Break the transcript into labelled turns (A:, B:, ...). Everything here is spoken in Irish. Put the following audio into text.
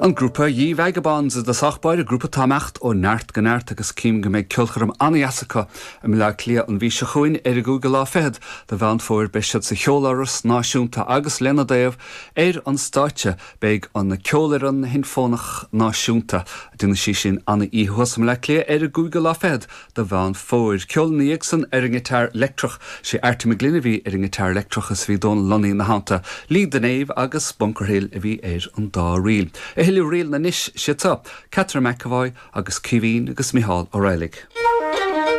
A: An grúpa Ye Vagabonds i dtosach báire, grúpa atá ag imeacht ó neart go neart agus cím go mbeidh ceolchoirm an-dheas acu i mBleá Cliath an mhí seo chugainn ar an gcúigiú lá fichead de Mheán Fómhair. Beidh siad sa Cheoláras Náisiúnta agus lena dtaobh ar an stáitse beidh an Ceolfhoireann Shinfónach Náisiúnta. Déanfaidh sí sin an-oíche thuas i mBleá Cliath ar an gcúigiú lá fichead de Mheán Fómhair. Ceol ina dhiaidh san ar an ngiotár leictreach. Sé Arty McGlynn a bhí ar an ngiotár leictreach is bhí Dónal Lunny ina theannta. Lee de Naomh agus Bunker Hill a bhí ar an dá ríl. A thuilleadh ríleanna anois, siad seo, Catherine McEvoy agus Caoimhín agus Micheál Ó Raghallaigh.